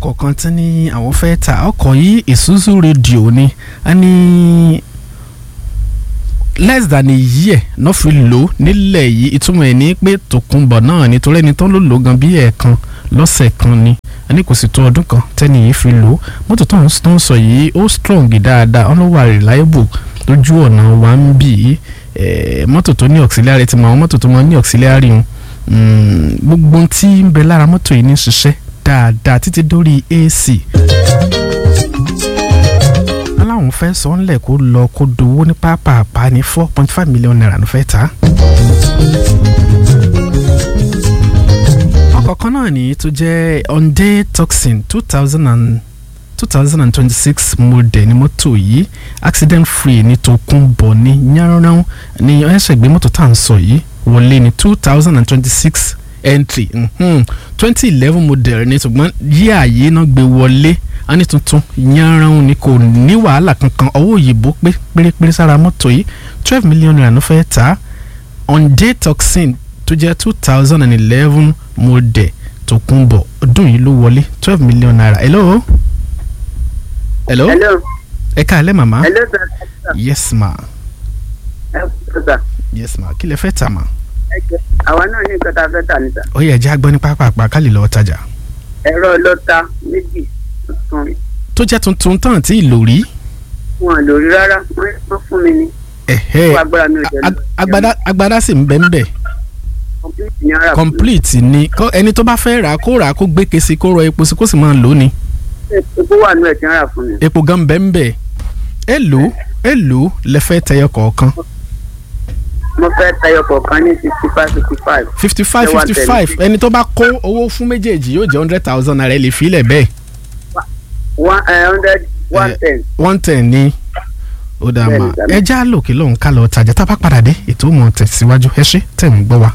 Ọkọ̀ kan tí ní àwọn fẹ́ ta ọkọ̀ yìí, Isuzu Radio ni. A ní less than a year náà fi lò nílẹ̀ yìí. Ìtumọ̀ ẹ̀ ní pé tòkunbọ̀ náà nítorí ẹni tó ló lò gan bí ẹ̀ẹ̀kan lọ́sẹ̀ kan ni. A ní kò sì tó ọdún kan tẹ́ni yìí fi lò. Mọ́tò tó ń sọ yìí, ó strong dáadáa, ó ló wà reliable lójú ọ̀nà wa ń bì í. Mọ́tò tó ní auxiliary ti mọ àwọn mọ́tò tó mọ ní auxiliary ń gbogbo tí ń bẹ lára mọ́tò yìí ní ṣiṣẹ́ dáadáa títí dórí AC. Aláwọn fẹ́ sọ ńlẹ̀ kó lọ kó dowó ní pápápá ní ₦4.5 million ló fẹ́ ta. Ọkọ̀ kan náà ní tó jẹ́ Hyundai Tucson, 2026 model ní mọ́tò yìí. Accident free ní, tòkunbọ̀ ní, yánrán ní. Ẹ̀ṣẹ̀ gbé mọ́tò tá à ń sọ yìí wọlé ní 2026 entry, 2011 model ní, ṣùgbọ́n yí ààyè náà gbé wọlé. A ní tuntun yánrán ni, kò ní wàhálà kankan, ọwọ́ òyìnbó pé pérépéré sára mọ́tò yìí. ₦12 million ló fẹ́ tà á. Hyundai Tucson tó jẹ́ 2011 model, tòkunbọ̀, ọdún yìí ló wọlé, ₦12 million. Hello, hello. Hello. Ẹ káalẹ́, màmá. Hello, sir. Yes, ma. Ẹ kú, sir. Yes, ma. Kí lẹ fẹ́ tà, ma? Ẹ jẹ́ àwa náà ní nǹkan tá a fẹ́ tà ní, sir. Ó yẹ ẹjẹ́ agbọ́n ní pápá, ká lè lọ́ọ́ tajà. Ẹ̀rọ ọlọ́ta méjì tuntun. Tó jẹ́ tuntun tán tí ìlò rí. Wọn ò lórí rárá, wọ́n fún mi ní. Ẹ̀hẹ́. Fún agbára mi ò jẹ́ lọ. Agbádá sì ń bẹ ń bẹ. Complete ní ara fún mi. Complete ni. Ẹni tó bá fẹ́ rà á, kó rà á, kó gbé kesi, kó rọ epo sí, kó sì máa lò ó ni. Epo wà nù ẹ̀ tí ń rà fún mi. Epo gan bẹ ń bẹ. Èlò èlò lẹ fẹ́ tẹyọ kọ̀ọ̀kan? Mo fẹ́ tayọ kọ̀ọ̀kan ní 65 55. 55 55. Ẹni tó bá kó owó fún méjèèjì yóò jẹ́ ₦100,000. Ẹ lè fi ilẹ̀ bẹ́ẹ̀. 100 110. 110 ni. Ó dáa mà. Bẹ́ẹ̀ni, sir. Ẹ já lòkè lọ́hùn, ká lọ tajà. Tá a bá padà dé, ètò mọ̀ tẹ̀síwájú. Ẹ ṣé tẹ̀ ń gbọ́ wa.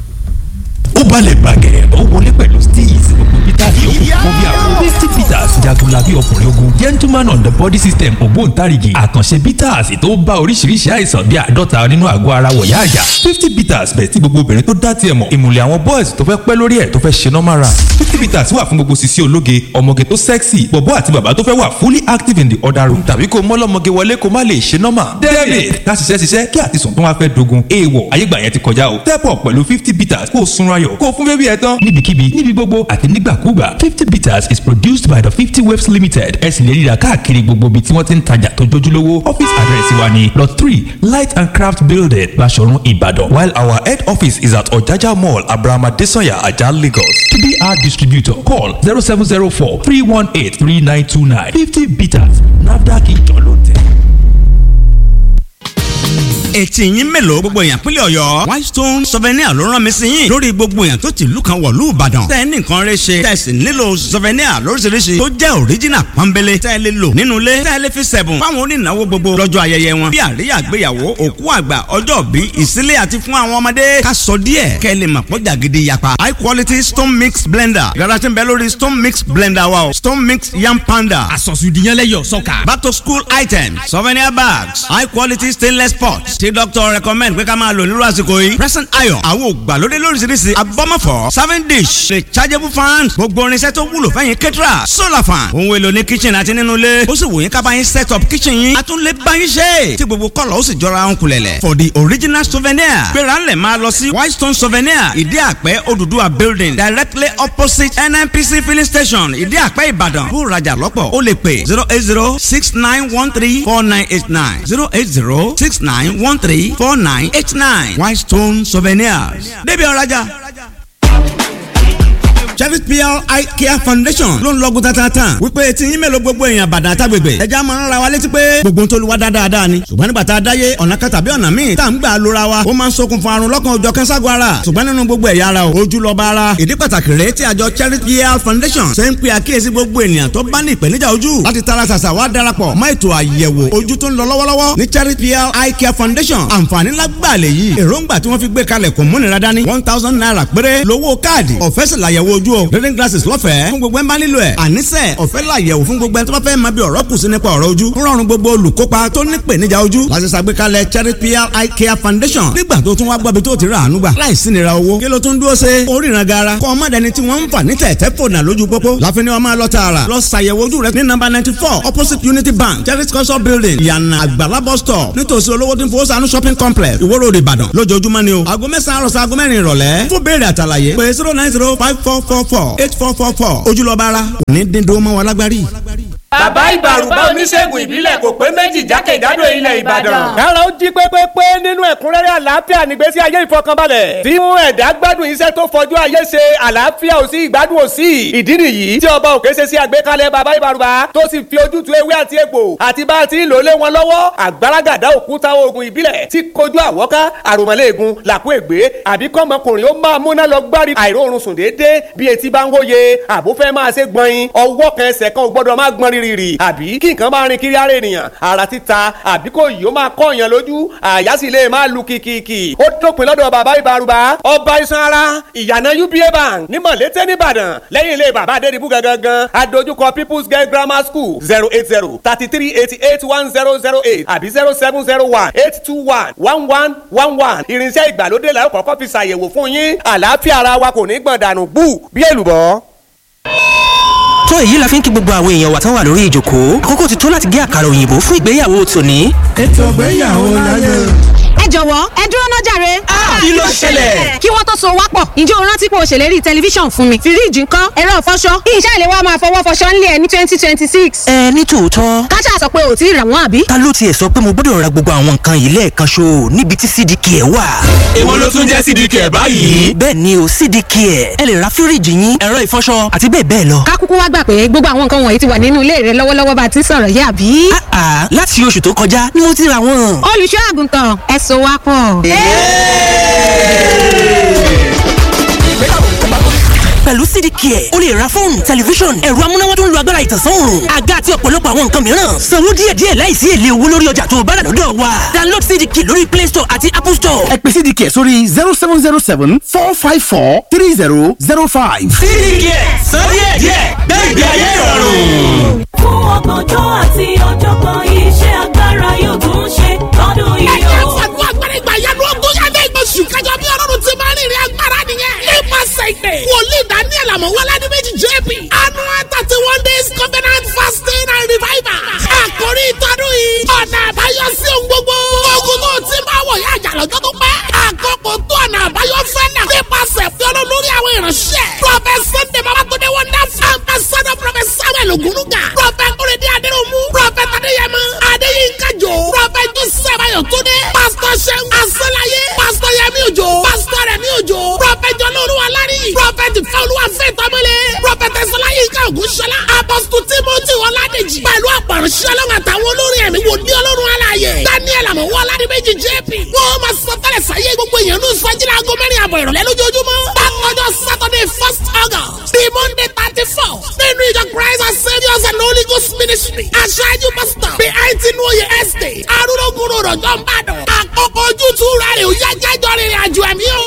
Ó balẹ̀ bàgẹ̀, ó wọlé pẹ̀lú steez. Gbogbo peter yòókù kó bí àwọn 50 bitters, jagunlabi ọkùnrin ogun, gentleman on the body system, ògbóǹtarìgì àkànṣe bitters tó bá oríṣiríṣi àìsàn bíi 50 nínú àgọ́ ara wọ̀yá àjà. 50 bitters bẹ̀ tí gbogbo obìnrin tó dá tiẹ̀ mọ̀, ìmùlẹ̀ àwọn boys tó fẹ́ pẹ́ lórí ẹ̀ tó fẹ́ ṣe normal run. 50 bitters wà fún gbogbo sisi ológe, ọmọge tó sexy, bọ̀bọ́ àti bàbá tó fẹ́ wà fully active in the other room, tàbí kó mọ́lọ́mọge wọlé kó má lè ṣe normal. Debit ká ṣiṣẹ́ ṣiṣẹ́ kí àtisùn tó wá fẹ́ dogun, èèwọ̀ ayégbà yẹn ti kọjá o. Step up pẹ̀lú 50 bitters, kó o sunra yọ̀, kó o fún bébí ẹ tán. Níbikíbi, níbi gbogbo àti nígbàkúgbà, 50 bitters is produced by the 50 Waves Limited. Ẹ sì lè ríra káàkiri gbogbo ibi tí wọ́n ti ń tajà tó jójúlówó. Office address wa ni Lot 3, Light and Craft Building, Baṣọ̀run, Ìbàdàn, while our head office is at Ọ̀jájá Mall, Abraham Adesanya, Ajah, Lagos. To be our distributor, call 0704 318 3929. 50 bitters, NAFDAC ìjọ ló tẹ̀. Etí yín mélòó, gbogbo èèyàn pínlẹ̀ Ọ̀yọ́? Whitestone Souvenir ló rán mi sí yín lórí gbogbo èèyàn tó ti ìlú kan wọ̀lú Ìbàdàn tẹ́ ẹ ní nǹkan rẹ ṣe, tẹ́ ẹ sì nílò souvenir lóríṣiríṣi tó jẹ́ original pọ́nbélé, tẹ́ ẹ lè lò nínú ilé, tẹ́ ẹ lè fi sẹ̀bùn fáwọn onínáwó gbogbo lọ́jọ́ ayẹyẹ wọn, bí àríyá ìgbéyàwó, òkú àgbà, ọjọ́ bí, ìsílẹ̀ àti fún àwọn ọmọdé. Ká sọ díẹ̀ kẹ́ ẹ lè mọ̀ pọ́jà gidi yapa. High quality stone mix blender ìrara tí ń bẹ lórí stone mix blender wa o. Stone mix yam panda Àsọ̀sùdìyànlẹ́yọ̀ sọ́kà. Back to school items, souvenir bags, high quality stainless pots tí doctor recommend pé ká máa lò nírú àsìkò yìí. Present iron, àwọn ògbàlódé lóríṣiríṣi, abọ́mọ̀fọ́ serving dish, rechargeable fan, gbogbo irinṣẹ́ tó wúlò fẹ́yìn kẹ́tìrà, solar fan, ohun èlò ní kitchen àti nínú ilé. Ó sì wò yín ká bá yín set up kitchen yín, a tún lè bá yín ṣe tí gbogbo kọ́lọ̀ ó sì jọra ń kulẹ̀lẹ̀. For the original souvenir, gbéra ńlẹ̀ máa lọ sí Whitestone Souvenir, Ìdí Àpẹ́, Odùduwà Building, directly opposite NNPC filling station, Ìdí Àpẹ́, Ìbàdàn. Kó rajà lọ́pọ̀, ó lè pè 08069134989, 08069134989. Whitestone Souvenirs, débi ọ̀rajà. Chevy PR Eye Care Foundation ló ń lọ́gùn tatata wípé tí yín mélòó, gbogbo èèyàn bàdà àtàgbègbè, ẹja máa ń ra wa létí pé gbogbo ń tolúwa dáadáa ni. Ṣùgbọ́n nígbà tá a dáyé, ọ̀nà kan tàbí ọ̀nà míì tá à ń gbà lóra wa, ó máa ń ṣokùnfà àrùn lọ́kàn òjọ̀ kẹ́sàgọ́ ara. Ṣùgbọ́n nínú gbogbo ẹ̀yà ara o, ojú lọ́ba ara. Ìdí pàtàkì rèé tí àjọ Chevy PR Foundation ṣe ń pe àkíyèsí gbogbo ènìyàn tó bá ní ìpèníjà ojú láti tara ṣàṣà wá darapọ̀ mọ́ ètò àyẹ̀wò ojú tó ń lọ lọ́wọ́lọ́wọ́ ní Chevy PR Eye Care Foundation. Àǹfààní lágbàlẹ̀ yìí, èròǹgbà tí wọ́n fi gbé kalẹ̀ kò múnira dání. ₦1,000 péré lówó káàdì, ọ̀fẹ́ sì làyẹ̀wò ojú. o. Reading glasses lọ́fẹ̀ẹ́ fún gbogbo ẹ̀ ń bá nílò ẹ̀. Àníṣe ọ̀fẹ́ làyẹ̀wò fún gbogbo ẹ̀ tó bá fẹ́ máa bí ọ̀rọ̀ kù sí nípa ọ̀rọ̀ ojú. Ń rọrùn gbogbo olùkópa tó ní ìpèníjà ojú láti ṣàgbékalẹ̀ Cherry PR Eye Care Foundation. Nígbà tó tún wá gbọ́bi tó ti rà àánú gbà láìsí nira owó, kí ló tún dúró ṣe oríran gara? Kọ́ ọmọdéni tí wọ́n ń fà ní tẹ̀tẹ̀ fònà lójú pópó láfi ni wọ́n máa lọ tààrà lọ ṣàyẹ̀wò ojú rẹ ní nọ́mbà 94, opposite Unity Bank, Cherry Culture Building, Ìyànà Àgbàlá bus stop, nítòsí olówó tí ń fowó sànú shopping complex, Ìwó Road, Ìbàdàn, lójoojúmọ́ ni o. Aago 9 àárọ̀ sí aago 4 ìrọ̀lẹ́. Fún béèrè àtàlàyé pé 09054448444. Ojúlọ́ba ara kò ní dín dúró mọ́ wa lágbárí. Bàbá Ìbàrùbá, oníṣègùn ìbílẹ̀ kò pé méjì jákèjádò ilẹ̀ Ìbàdàn. Kára ó jí pépépé nínú ẹ̀kúnrẹ́rẹ́ àlàáfíà nígbésí ayé ìfọkànbalẹ̀. Tí mú ẹ̀dá gbádùn iṣẹ́ tó fojú ayé ṣe, àlàáfíà ò sí, ìgbádùn ò sí. Ìdí nìyí tí ọba òkè ṣe sí àgbékalẹ̀ bàbá Ìbàrùbá tó sì fi ojútùú ewé àti egbò àti bá a ti ń lò lé wọn lọ́wọ́. Àgbàràgàdá òkúta oògùn ìbílẹ̀ tí kojú àwọ́ká, àròmọ̀lẹ́ẹ̀gùn, làkú ègbé, àbí kọ́mọkùnrin ó máa múná lọ gbárí àìróorun sùn déédéé bí etí bá ń wóye, àbúfẹ́ máa ṣe gbọ̀nyin, ọwọ́ kan ẹsẹ̀ kan ò gbọ́dọ̀ má gbọ́n rírì, àbí kí nǹkan máa rin kiri ara ènìyàn, ara títa, àbí kò yìí ó máa kọ́ èèyàn lójú, àyà sì lè máa lu kìkìkì. Ó dópin lọ́dọ̀ bàbá Ìbàrùbá, ọba iṣan ara, ìyànà UBA Bank ní Mọ̀lété nìbàdàn, lẹ́yìn ilé bàbá Adédìbú gangan, adójúkọ People's Girl Grammar School. 08033881008 àbí 07018211111. Irinṣẹ́ ìgbàlódé la ó kọ́kọ́ fi ṣàyẹ̀wò fún yín. Àlàáfíà ara wa kò ní gbọ̀n dànù gbù bí èlùbọ́. Tó èyí la fi ń kí gbogbo àwọn èèyàn wa tán wà lórí ìjókòó. Àkókò ti tó láti gé àkàrà òyìnbó fún ìgbéyàwó tòní. Ètò ìgbéyàwó láyé. Ẹ jọ̀wọ́, ẹ dúró ná jàre. Kí ló ṣẹlẹ̀? Kí wọ́n tó so wá pọ̀, ǹjẹ́ o rántí pé o ṣèlérí tẹlifíṣàn fún mi? Fíríìjì ńkọ́? Ẹ̀rọ ìfọṣọ? Iṣẹ́ ìléwọ́ máa fọwọ́ fọṣọ ńlẹ̀ ẹ̀ ní 2026. Ẹ ní tòótọ́. Káṣá sọ pé ò tí ì rà wọ́n, àbí? Ta ló tiẹ̀ sọ pé mo gbọ́dọ̀ ra gbogbo àwọn nǹkan yìí lẹ́ẹ̀kan ṣo níbi tí CDK ẹ̀ wà? Èwo ló tún jẹ́ CDK ẹ̀ báyìí? Bẹ́ẹ̀ ni o, CDK ẹ̀. Ẹ lè ra fíríìjì yín, ẹ̀rọ ìfọṣọ àti bẹ́ẹ̀ bẹ́ẹ̀ lọ. Ká kúkú wá gbà pé gbogbo àwọn nǹkan wọ̀nyí ti wà nínú ilé rẹ lọ́wọ́lọ́wọ́ bá a ti sọ̀rọ̀ yìí, àbí? Àà, láti oṣù tó kọjá ni mo ti ra wọn. Olùṣọ́ àgùntàn, ẹ so wá pọ̀. Pẹ̀lú CDK, o lè ra fóònù, tẹlifíṣọ̀n, ẹ̀rọ amúnáwá tó ń lo agbára ìtànsán òòrùn, àga àti ọ̀pọ̀lọpọ̀ àwọn nǹkan mìíràn. Sanwó díẹ̀díẹ̀ láìsí èlé owó lórí ọjà tó o bá rà lọ́dọ̀ wa. Download CDK lórí Play Store àti Apple Store. Ẹ pè CDK sórí 07074543005. CDK, sọ díẹ̀díẹ̀, gbé ìgbé ayé ìrọ̀rùn. Fún ọgbọ̀njọ́ àti ọ̀jọ̀gbọ́n, iṣẹ́ agbára yóò tún ṣe lọ́dún yìí o. Ẹ̀jẹ̀ fàdúrà agbára ìgbà yẹn ló ń gún yàtọ̀ ìgbésù kájọ bí Ọlọ́run ti máa ń rìnrìn agbára nìyẹn. Nípasẹ̀ ìpè wòlíì Daniel Amọ̀wálá ní méjì JP, annual 31 days covenant fasting and revival. Àkórí ìtọ́dún yìí, ọ̀nà àbáyọ sí ohun gbogbo. Ogun tó ti máa wọ̀ yá àjà lọ́jọ́ tó pẹ́. Àkókò tó ọ̀nà àbáyọ fẹ́ náà. Nípasẹ̀ fi Ọlọ́run lórí àwọn ìránṣẹ́. Prophet Sunday Babatunde Wonderful. Ambassador Prophet Samuel Ogunuga. Prophet Kúrẹ́dé Adéròmù. Prophet Adéyẹmọ Adéyínká Jò. Prophet Joseph Ayọ̀túndé. Pastor Ṣẹ́gun Asọ́láyé. Pastor Yẹmí Òjò. Pastor Rẹ̀mí Òjò. Prophet Jọlọ́ọ̀lùwà Lárí. Prophet Fẹ́olúwa Fẹ́tọ́mọlé. Prophet Ẹ̀sọ́láyínká Ògúnṣọlá. Apostle Timothy Ọládèjì. Pẹ̀lú àpàrọ̀ṣẹ́ Ọlọ́run àtàwọn olórin ẹ̀mí wò ní Ọlọ́run aláàyè. Daniel Àmọ̀wọ́ Ọládìméjì JP. Wọ́n máa sọ tẹ́lẹ̀ sáyé gbogbo èèyàn ní sọ́jìlá aago 4 àbọ̀ ìrọ̀lẹ́ lójoojúmọ́. Bákanjọ́ Saturday 1st August the Monday 34 nínú ìjọ Christ and Saviours and Holy Ghost Ministry. Aṣáájú Pastor B.I.T. Nuoye Estate. Arúgbó Rọ̀jọ́ Nbàdàn. Àkókò ojútùú rẹ̀ ò yá jájọ́ rìnrìn àjò ẹ̀mí o.